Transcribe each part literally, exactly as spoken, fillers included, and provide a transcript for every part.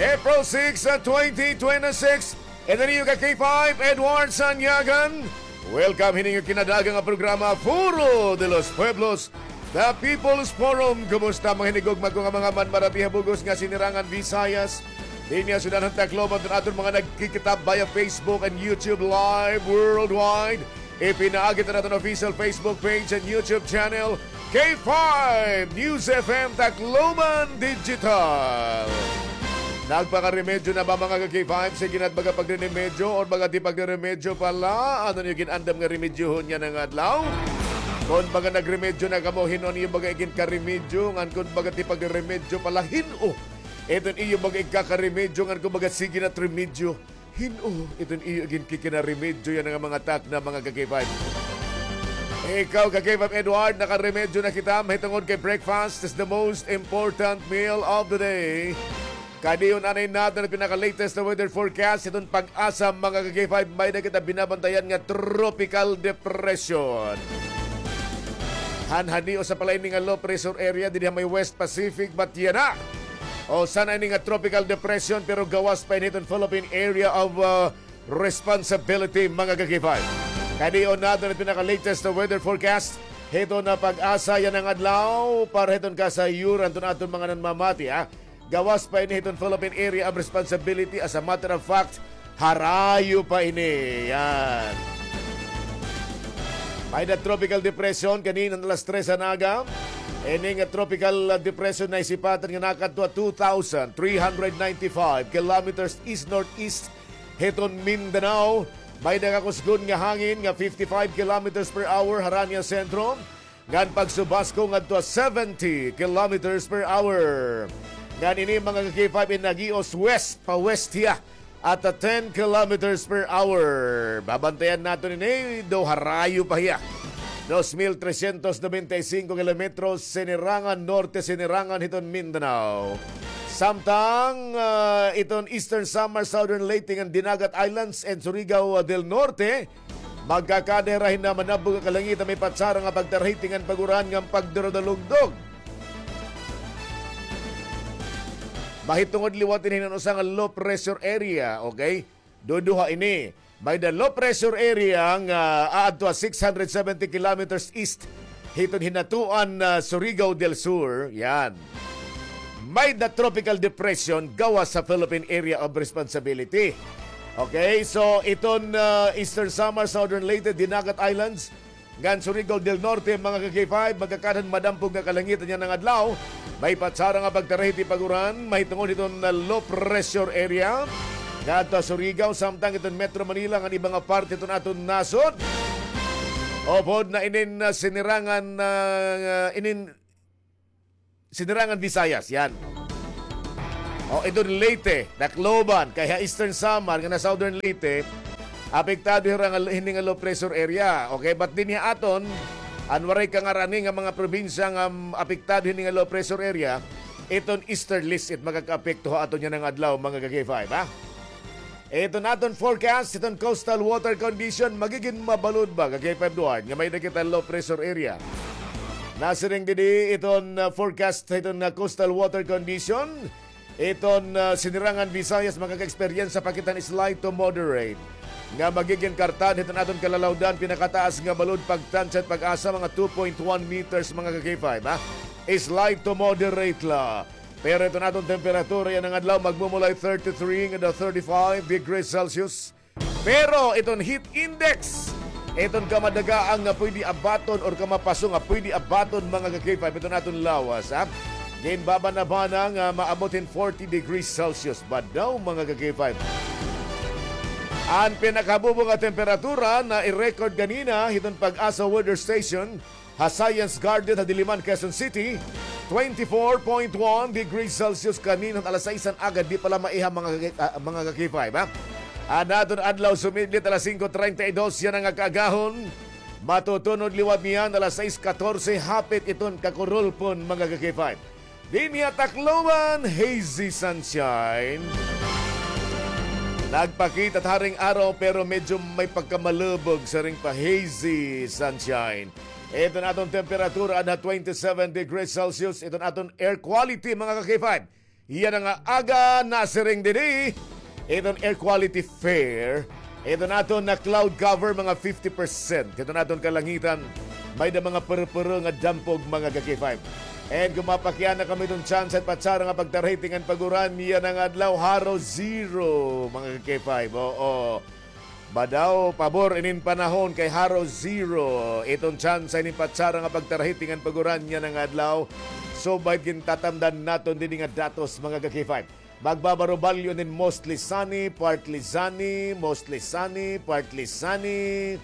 April six, uh, twenty twenty-six. And then you got K five, Edward Sanyagan. Welcome hini nga kinadaga nga programa, Foro de los Pueblos, The People's Forum. Kumusta, mga hinigugma ko nga mga manmaratiha bug-os nga Sinirangan Visayas? Dinhi ha syudad han Tacloban, aton mga nagkikita via Facebook and YouTube live worldwide. Ipinaagi ta naton official Facebook page and YouTube channel, K five News F M Tacloban Digital. Nagpakaremedyo na ba, mga ka-K five? Sige na, baga pagriremedyo or baga di pagriremedyo pa la? Ano niyo gin-andam nga remedyohon yana nga adlaw? Kon baga nagremedyo na kamo, hin-o an iyo baga iginkaremedyo? Ngan kon baga di pagriremedyo pa la, hin-o iton iyo baga igkakaremedyo? Ngan kon baga sige na it remedyo, hin-o iton iyo iginkikinaremedyo yana nga mga takna, mga ka-K five? Ikaw, ka-K five Edward, nakaremedyo na kita mahitungod kay breakfast is the most important meal of the day. Kadi una ini naton an pinaka-latest na weather forecast hiton PAGASA, mga ka-K five. May-ada kita binabantayan nga tropical depression. Hanhanios pa la ini nga low pressure area dinhi ha may West Pacific, but yana, o, usa na ini nga tropical depression, pero gawas pa ini hiton Philippine Area of, uh, Responsibility, mga ka-K five. Kadi una naton an pinaka-latest na weather forecast hiton PAGASA yana nga adlaw para hiton kasayuran hiton aton mga nanmamati, ha. Gawas pa ini hiton Philippine Area of Responsibility. As a matter of fact, harayo pa ini. Yan. May-ada tropical depression kanina alas tres han aga. Ini nga tropical, uh, depression naisipatan nga nakadto ha two thousand three hundred ninety-five kilometers east-northeast hiton Mindanao. May-ada kakusgon nga hangin nga fifty-five kilometers per hour harani ha sentro, ngan pagsubasko ngadto ha seventy kilometers per hour. Ngan ini, mga ka-K five, in nag-ios west, pa-west hiya at, ah, ten kilometers per hour. Babantayan naton ini, daw harayo pa hiya. Dos mil trescientos noventa y cinco kilometros, Sinirangan Norte, Sinirangan hiton Mindanao. Samtang, ah, iton Eastern Samar, Southern Leyte, ngan Dinagat Islands and Surigao, ah, del Norte, magkakada hira hin manabog nga kalangitan, may patsara nga pagtarahiti ngan pag-uran ngan pagdurudulugdog. Mahitungod liwat ini hin usa nga low pressure area, okay? Duduha ini. May-ada low pressure area nga aadto ha six hundred seventy kilometers east hiton hinatuan na Surigao del Sur. Yan. May-ada tropical depression gawas sa Philippine Area of Responsibility. Okay, so iton, ah, Eastern Samar, Southern Leyte, Dinagat Islands, ngan Surigao del Norte, mga ka-K five, magkakada hin madampog nga kalangitan yana nga adlaw. May patsara nga pagtarahiti pag-uran, mahitungod hiton, ah, low pressure area ngadto ha Surigao, samtang iton Metro Manila ngan iba nga parte hiton aton nasod. Upod na inin, ah, Sinirangan, ah, inin Sinirangan Visayas, yan. O, iton Leyte, Tacloban, kay ha Eastern Samar, ngan ha Southern Leyte, apektado hira nga, hini nga low pressure area. Okay, but dinhi ha aton, an waray kangarani nga mga probinsya nga, um, apektado hini nga low pressure area, iton easterlies it makakaapekto ha aton yana nga adlaw, mga ka-K five, ha? Iton aton forecast, iton coastal water condition, magigin mabalod ba, ka-K five Duarte, nga may-ada kita low pressure area? Nasiring didi iton, ah, forecast, iton, ah, coastal water condition, iton, ah, Sinirangan Visayas, makaka-eksperyensya pa kita hin slight to moderate nga magigin kartad hiton aton kalalawdan, pinakataas nga balod pagtansya it PAGASA, mga two point one meters, mga ka-K five, ha? Slight to moderate la. Pero iton aton temperatura yana nga adlaw, magmumulay thirty-three ngadto thirty-five degrees Celsius. Pero iton heat index, iton kamadagaang nga pwede abaton or kamapaso nga pwede abaton, mga ka-K five, iton aton lawas, ha? Ginbabanabana nga maabot hin forty degrees Celsius ba daw, mga ka-K five. An pinakahabubo nga temperatura na i-record kanina hiton PAGASA Weather Station ha Science Garden ha Diliman, Quezon City, twenty-four point one degrees Celsius kanina han alas sais han aga, di pa la maiha, mga ka-, ah, mga ka-K five, ha? An aton adlaw sumidlit alas singko treinta y dos yana nga kaagahon. Matutunod liwat niyan alas sais katorse, hapit iton kakurulpon, mga ka-K five. Dinhi ha Tacloban, hazy sunshine. Nagpakita it haring araw pero medyo may pagkamalubog, siring pa, hazy sunshine. Iton aton temperatura anha twenty-seven degrees Celsius. Iton aton air quality, mga ka-K five, yana nga aga nasiring didi. Iton air quality fair, iton aton nga cloud cover, mga fifty percent. Iton aton kalangitan, may-ada mga purupuro nga dampog, mga ka-K five. And kon mapakiana kamo iton tsansa it patsara nga pagtarahiting an pag-uran yana nga adlaw, haro zero, mga ka-K five. Oo. Badaw, pabor inin panahon kay haro zero. Iton tsansa inin patsara nga pagtarahiting an pag-uran yana nga adlaw. Subay gintatamdan naton didi nga datos, mga ka-K five. Magbabarubalyo inin mostly sunny, partly sunny, mostly sunny, partly sunny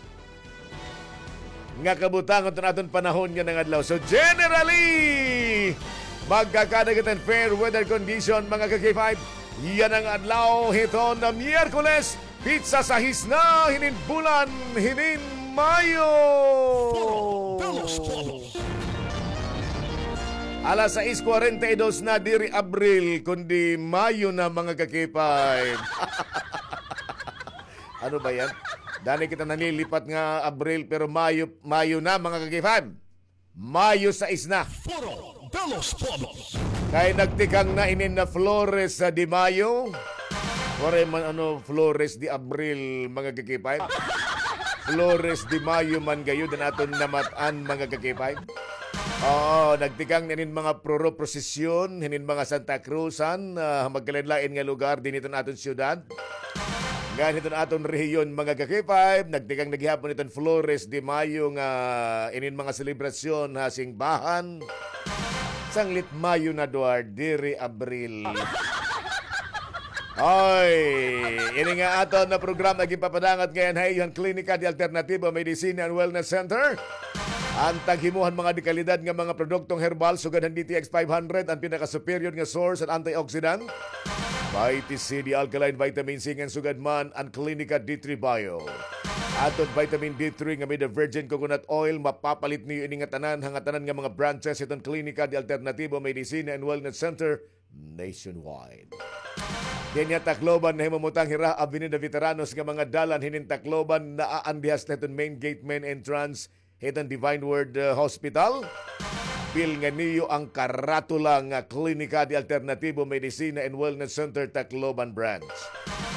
nga kabutangan iton aton panahon yana nga adlaw. So, generally, magkakadagatan fair weather condition, mga ka-K five. Yana nga adlaw hiton Miyerkules, pitsa sais na hinin bulan hinin Mayo. Foro de los Pueblos. Alas sais kwarenta y dos na, diri Abril, kundi Mayo na, mga ka-K five. Ano ba yan? Dani kita nanlilipat nga Abril, pero Mayo, Mayo na, mga ka-K five. Mayo sais na. Foro de los Pueblos. Kay nagtikang na inin na Flores, ah, de Mayo. Waray man ano, Flores de Abril, mga ka-K five. Flores de Mayo man gayod an aton namat-an, mga ka-K five. Oo, nagtikang na inin mga proro prosesyon, hinin mga Santa Cruzan, ah, magkalain-lain nga lugar dinhi hiton aton syudad. Ngan hiton aton rehiyon, mga ka-K five, nagtikang na gihapon iton Flores de Mayo nga inin mga selebrasyon ha singbahan. Sanglit Mayo na, Duarte, diri Abril. Oy, ini nga aton na programa ginpapadangat ngay-an ha iyo han Klinika de Alternativo Medicina and Wellness Center. An taghimo han mga dekalidad nga mga produktong herbal sugad han D T X five hundred, an pinaka-superior nga source han antioxidant. Vitamin C, the alkaline vitamin C, ngan sugad man an Klinika D three Bio. Aton vitamin D three nga may-ada virgin coconut oil, mapapalit niyo ini nga tanan ha ngatanan nga mga branches hiton Klinika de Alternativo Medicina and Wellness Center nationwide. Dinhi ha Tacloban, nahimumutang hira Avenida Veteranos nga mga dalan hinin Tacloban, naa an dihas na hiton main gate, main entrance hiton Divine Word, uh, Hospital. Pilnga niyo an karatula nga Klinika de Alternativo Medicina and Wellness Center, Tacloban Branch.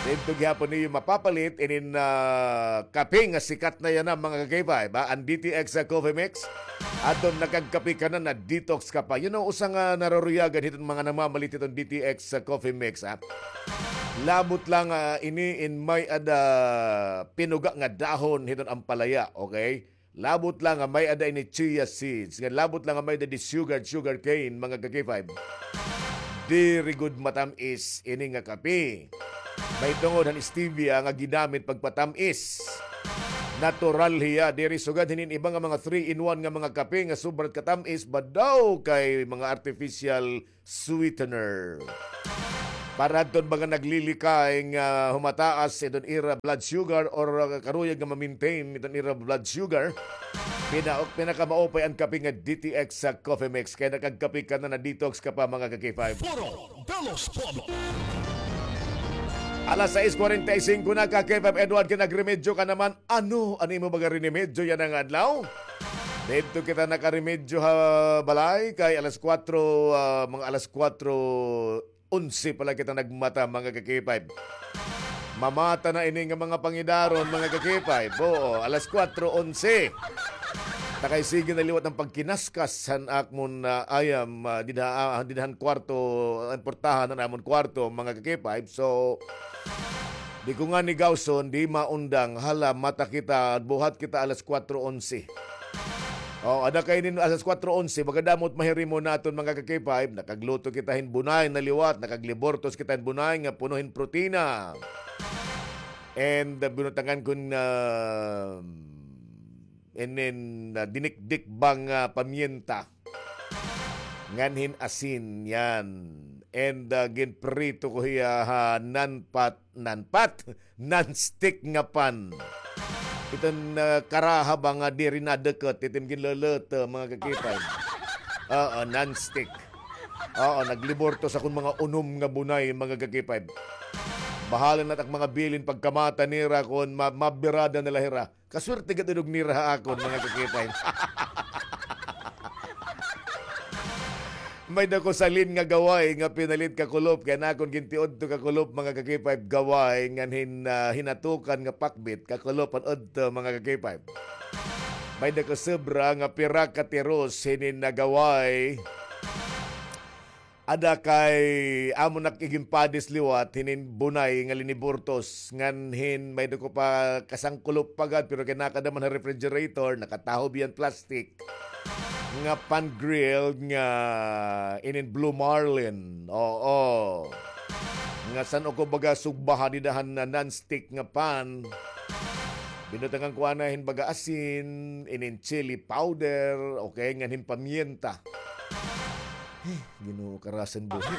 Didto gihapon niyo mapapalit inin, ah, kape nga sikat na yana, mga ka-K five, ha? An D T X, ah, Coffee Mix. Aton nakagkape ka na, na-detox ka pa. You know, usa nga nararuyagan hiton mga namamalit hiton D T X, ah, Coffee Mix, ha? Labot la nga, ah, ini in may-ada pinuga nga dahon hiton ampalaya, okay? Labot la nga may-ada ini chia seeds, nga labot la nga may-ada di sugar, sugar cane, mga ka-K five. Diri gud matam-is ini nga kape. May tungod han stevia nga ginamit pagpatam-is. Natural hiya, diri sugad hinin iba nga mga three-in-one nga mga kape nga sobra katatam-is, badaw kay mga artificial sweetener. Para adton mga naglilikay nga humataas iton ira blood sugar or, uh, karuyag nga ma-maintain iton ira blood sugar, pina-, pinakamaupay an kape nga D T X sa Coffee Mix. Kay nakagkape ka na, na-detox ka pa, mga ka-K five. Foro de los Pueblos. Alas sais kwarenta y singko na, ka-K five Edward, kay nagremedyo ka naman. Ano, ano imo baga rinimedyo yana nga adlaw? Didto kita nakaremedyo ha balay, kay alas kwatro, ah, mga alas kwatro onse pa la kita nagmata, mga ka-K five. Mamata na ini nga mga pangidaron, mga ka-K five. Oo, alas kwatro onse. Ta kay sige na liwat an pagkinaskas han akon, ah, ayam, ah, dida, ah, dida han kwarto, ah, portahan han amon kwarto, mga ka-K five. So, di ko ngani gawson, di maundang, hala, mata kita, buhat kita alas kwatro onse. O, ada kay inin alas kwatro onse, baga damo it mahirimo naton, mga ka-K five, nakagluto kita hin bunay na liwat, nakaglibortos kita hin bunay nga puno hin protina. And, ah, binutangan ko hin, ah, inin, ah, dinikdik bang, ah, pamyenta. Ngan hin asin, yan. And, ah, ginprito ko hiya ha non-fat, non-fat, non-stick nga pan. Iton, ah, karaha ba nga diri nadukot, iton ginluluto, mga ka-K five. Oo, non-stick. Oo, naglibortos akon mga unom nga bunay, mga ka-K five. Bahala na it ak mga bilin pagkamata nira kon ma-, mabirada na la hira. Kaswerte gad idog nira ha akon, mga ka-K five. May-ada ko salin nga gaway nga pinalit kakulop, kay an akon gintiudto kakulop, mga ka-K five, gaway ngan hin-, ah, hinatukan nga pakbit kakulop an udto, mga ka-K five. May-ada ko sobra nga pira ka tiros hinin nga gaway. Ada kay amo na ak iginpadis liwat hinin bunay nga liniburtos. Ngan hin may-ada ko pa kasangkulop pa gad, pero kay nakada man ha refrigerator, nakatahob hiya han plastic. Nga pan-grilled nga inin Blue Marlin. Oo. Nga san-o ko baga sugbahan dida han non-stick nga pan. Binutangan ko anay hin baga asin, inin chili powder, okay, ngan hin pamyenta. Ay, Ginoo, karasan buhi.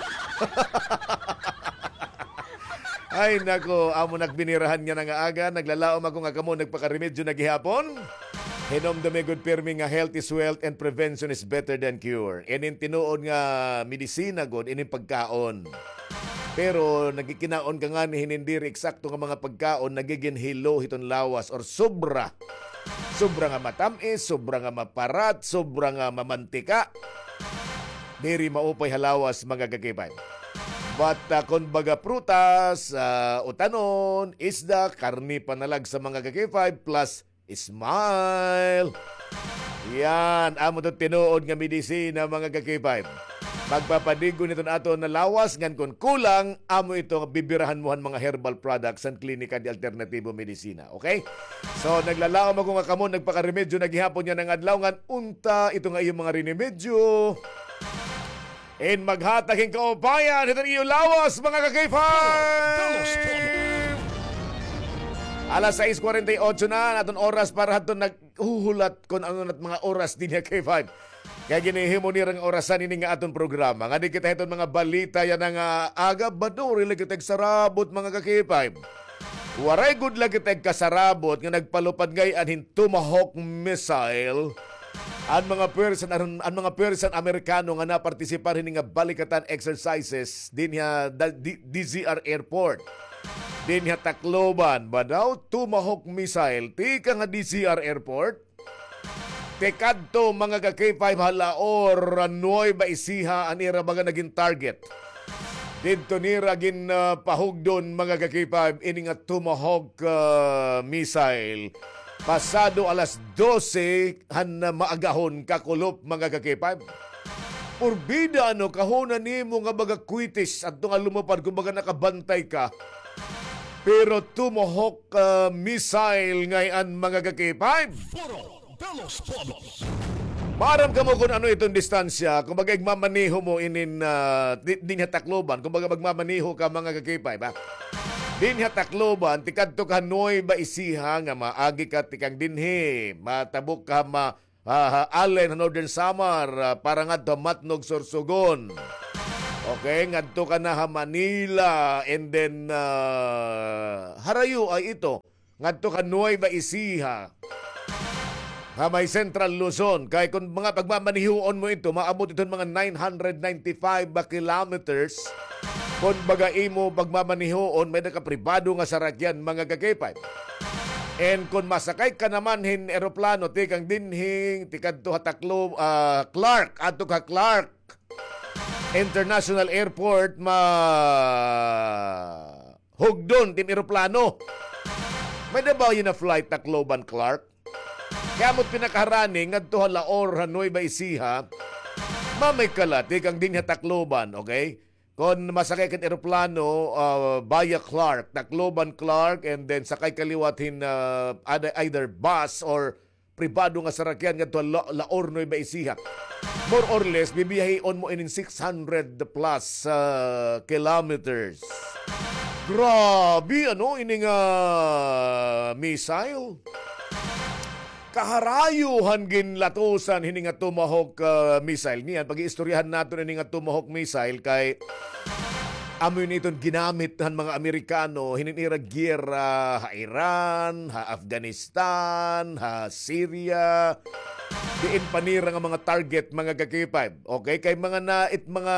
Ay, nako, amo na ak binirahan yana nga aga, naglalaom ako nga kamo nagpakaremedyo na gihapon. Hinumdumi gud pirmi nga health is wealth and prevention is better than cure. Inin tinuod nga medisina gud, inin pagkaon. Pero nagkikinaon ka ngani hin diri eksakto nga mga pagkaon, nagigin hilo hiton lawas or sobra. Sobra nga matam-is, sobra nga maparat, sobra nga mamantika. Diri maupay ha lawas, mga ka-K five. But, ah, kon baga prutas, ah, utanon, isda, karne panalagsa, mga ka-K five, plus smile. Yan, amo to tinuod nga medisina, mga ka-K five. Magpapadig-on hiton aton nga lawas, ngan kon kulang, amo ito bibirahan mo han mga herbal products han Klinika de Alternativo Medicina. Okay? So, naglalaom ako nga kamo nagpakaremedyo na gihapon yana nga adlaw, ngan unta ito nga iyo mga rinemedyo in maghatag hin kaupayan hiton iyo lawas, mga ka-K five. Alas sais kwarenta y otso na an aton oras para hadton naghuhulat kon ano na it mga oras dinhi ha K five. Kay ginhihimo nira nga orasan ini nga aton programa. Ngadi kita hiton mga balita yana nga aga, ba, diri la kita kasarabot, mga ka-K five. Waray gud la kita kasarabot nga nagpalupad ngay-an hin Tomahawk missile an mga puwersa, an, an mga puwersa han Amerikano nga napartisipar hini nga balikatan exercises dinhi ha da-, D-, D Z R Airport. Dinhi ha Tacloban, ba daw, Tomahawk missile tikang ha D Z R Airport. Tikadto, mga ka-K five, ha laor, nuweba isiha an ira baga nagin target. Didto nira gin, ah, pahugdon, mga ka-K five, ini nga Tomahawk, ah, missile. Pasado alas dose han, ah, maagahon, kakulop, mga ka-K five. Purbida, ano, kahuna nimo nga baga kwitis, adto nga lumupad, kumbaga nakabantay ka. Pero Tomahawk, ah, missile ngay-an, mga ka-K five. Foro de los Pueblos. Maaram kamo kon ano iton distansya, kumbaga igmamaneho mo inin, ah, di-, dinhi ha Tacloban, kumbaga magmamaneho ka, mga ka-K five, ha? Dinhi ha Tacloban, tikadto ka Nueva Ecija nga maagi ka tikang dinhi, matabok ka ma-, ah, ha Allen, ha Northern Samar, ah, para ngadto ha Matnog, Sorsogon. Okay, ngadto ka na ha Manila, and then, ah, harayo ay ito, ngadto ka Nueva Ecija, ha may Central Luzon. Kay kon mga pagmamanihuon mo ito, maabot iton mga nine hundred ninety-five ba kilometers. Kon baga imo pagmamanihuon, may-ada ka pribado nga sarakyan, mga ka-K five. And kon masakay ka naman hin eroplano, tikang dinhi, tikadto ha Taclo-, ah, Clark, adto ka Clark International Airport, ma-, hugdon tim eroplano. May-ada ba yana flight Tacloban, Clark? Kay amo it pinakaharani ngadto ha Laor, ha Nueva Ecija. Mamay ka la tikang dinhi ha Tacloban, okay? Kon masakay ka hin eroplano, ah, via Clark, Tacloban, Clark, and then sakay ka liwat hin, ah, ada-, either bus or pribado nga sarakyan ngadto ha La-, Laor, Nueva Ecija. More or less, bibiyahion mo inin six hundred plus, ah, kilometers. Grabe, ano, ini nga missile? Kaharayo han ginlatusan hini nga Tomahawk, ah, missile. Niyan, pag-iistoryahan naton ini nga Tomahawk missile kay amo ini iton ginamit han mga Amerikano hinin ira giyera ha Iran, ha Afghanistan, ha Syria. Diin pa nira nga mga target, mga ka-K five. Okay, kay mga na, it mga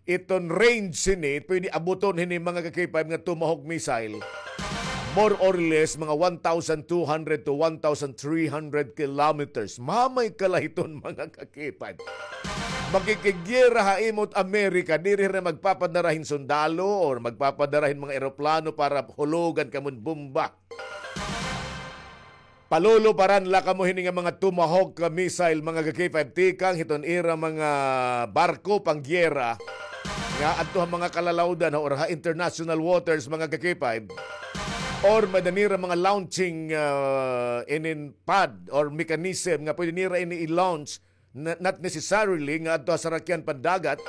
iton range hini, pwede abuton hini, mga ka-K five, nga Tomahawk missile. More or less, mga one thousand two hundred to one thousand three hundred kilometers. Mamay ka la hiton, mga ka-K five. Makikigyera ha imo it Amerika, diri hira magpapadara hin sundalo or magpapadara hin mga eroplano para hulogan kamo hin bomba. Paluluparan la kamo hini nga mga Tomahawk missile, mga ka-K five, tikang hiton ira mga barko panggyera nga adto ha mga kalalawdan or ha international waters, mga ka-K five, or may-ada nira mga launching, ah, inin pad or mechanism nga pwede nira ini i-launch, na, not necessarily nga adto ha sarakyan pandagat.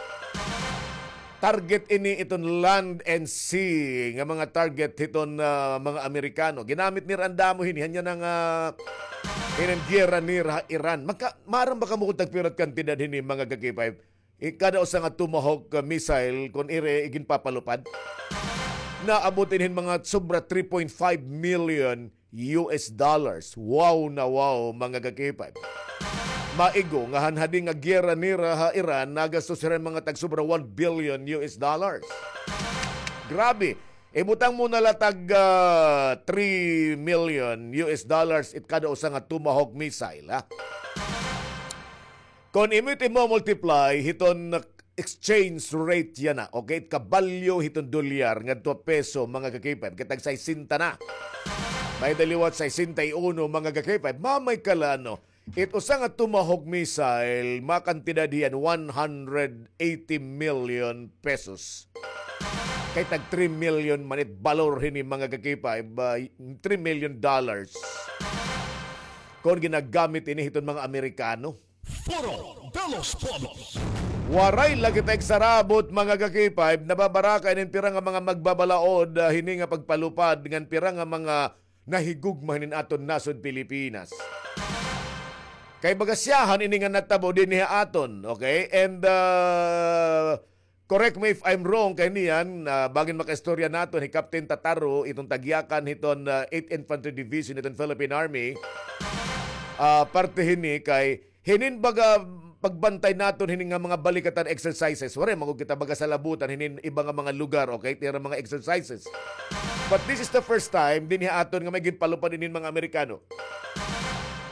Target ini iton land and sea nga mga target hiton, ah, mga Amerikano. Ginamit nira an damo hini, hanya na nga, ah, iningyera nira ha Iran. Maka-, maaram ba kamo kon tagpira it kantidad hini, mga ka-K five? I-, kada usa nga Tomahawk, ah, missile, kon ira iginpapalupad, naabot ini hin mga sobra three point five million U S dollars. Wow na wow, mga ka-K five. Maigo nga han hadi nga gyera nira ha Iran, nagastos hira hin mga tagsobra one billion U S dollars. Grabe. Ibutang mo na la tag, ah, three million U S dollars it kada usa nga Tomahawk missile, ha? Kon imo it imo-multiply hiton exchange rate yana, okay? It kabalyo hiton dolyar ngadto ha peso, mga ka-K five, kay tag sesenta na. May-ada liwat sesenta y uno, mga ka-K five. Mamay ka la, no? It usa nga Tomahawk missile, makantidad hiyan one hundred eighty million pesos. Kay tag three million man it balor hini, mga ka-K five, ah, three million dollars. Kon ginagamit ini hiton mga Amerikano. Foro de los Pueblos. Waray la kita igsarabot, mga ka-K five, nababaraka inin pira nga mga magbabalaod, ah, hini nga pagpalupad ngan pira nga mga nahigugma hinin aton nasod Pilipinas. Kay baga siyahan ini nga natabo dinhi ha aton, okay? And, ah, correct me if I'm wrong, kay niyan, ah, bangin makaistorya naton hi Captain Tataro, iton tagyakan hiton, ah, eighth Infantry Division hiton Philippine Army. Ah, parte hini kay hinin baga pagbantay naton hini nga mga balikatan exercises. Waray man gud kita baga salabutan hinin iba nga mga lugar, okay? It ira mga exercises. But this is the first time dinhi ha aton nga may ginpalupad inin mga Amerikano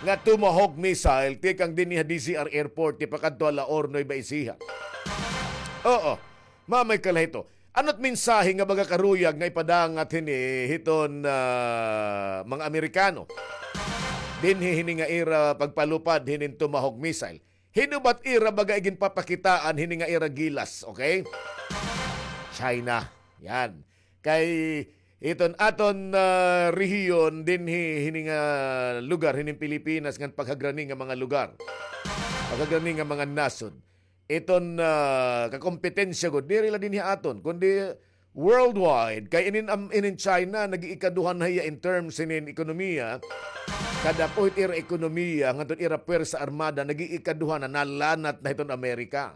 nga Tomahawk missile tikang dinhi ha D Z R Airport, tipakadto ha La Or, Nueva Ecija. Oo. Mamay ka la hito. Ano it mensahe nga baga karuyag nga ipadangat hini hiton, ah, mga Amerikano? Dinhi hini nga ira pagpalupad hinin Tomahawk missile. Hin-o ba it ira baga iginpapakitaan hini nga ira gilas, okay? China. Yan. Kay iton aton, ah, rehiyon dinhi hini nga lugar hinin Pilipinas ngan paghagrani nga mga lugar. Paghagrani nga mga nasod. Iton, ah, kakompetensya gud, diri la dinhi aton, kundi worldwide. Kay inin, am-, inin China, nag-iikaduha na hiya in terms hinin ekonomiya. Kada puhit ira ekonomiya, ngadto ira puwersa armada, nag-iikaduha na, nalanat na hiton Amerika.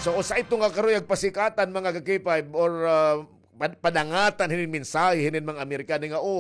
So, usa ito nga karuyag pasikatan, mga ka-K five, or, ah, pad-, padangatan hinin mensahe hinin mga Amerikano nga, oh,